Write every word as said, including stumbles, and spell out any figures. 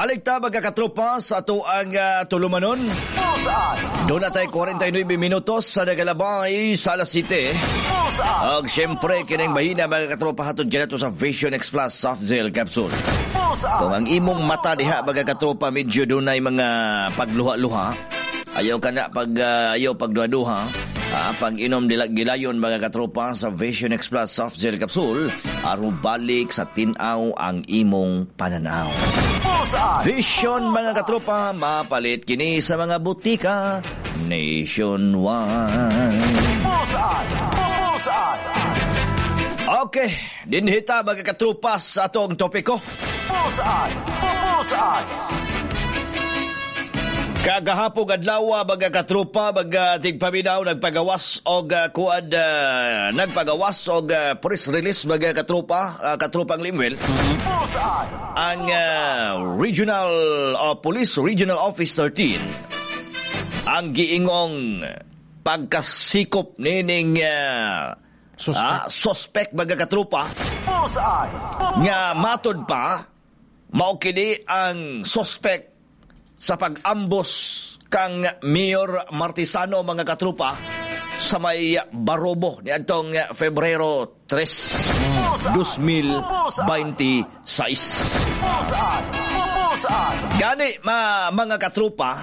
Balik ta, mga katropa, sa ato ang uh, tulumanon. Bullseye! Doon na tayo kwarenta y nuwebe minutos sa nagalabay sa alas siyete. Bullseye! Og syempre, kining mahina, mga katropa, hatod kanato sa Vision X Plus Soft Gel Capsule. Bullseye! Kung ang imong mata diha, mga katropa, medyo dunay mga pagluha-luha, ayaw ka na pag uh, ayaw pagduha-duha, ah, pag inom dila gilayon, mga katropa, sa Vision X Plus Soft Gel Capsule, aron balik sa tinaw ang imong pananaw. Bullseye! Vision, mga katropa, mapalit kini sa mga butika nationwide. Bullseye! Bullseye! Okay, dinhi ta, mga katropa, sa atong topiko. Bullseye! Bullseye! Kagahapong adlaw, mga katropa, mga tigpaminaw, nagpagawas og uh, kuan uh, nagpagawas og uh, press release, mga katropa, uh, katropang Limwell, Bullseye! ang uh, Regional uh, Police Regional Office thirteen, ang giingong pagkasikop nining uh, Suspect. ah, suspect, mga katropa, Bullseye! nga matod pa mao kini ang suspect sa pag-ambus kang Mayor Martisano, mga katropa, sa may Barobo niadtong Febrero tres, dalawang libo bente y sais. Bullseye! Bullseye! Gani ma, mga katropa,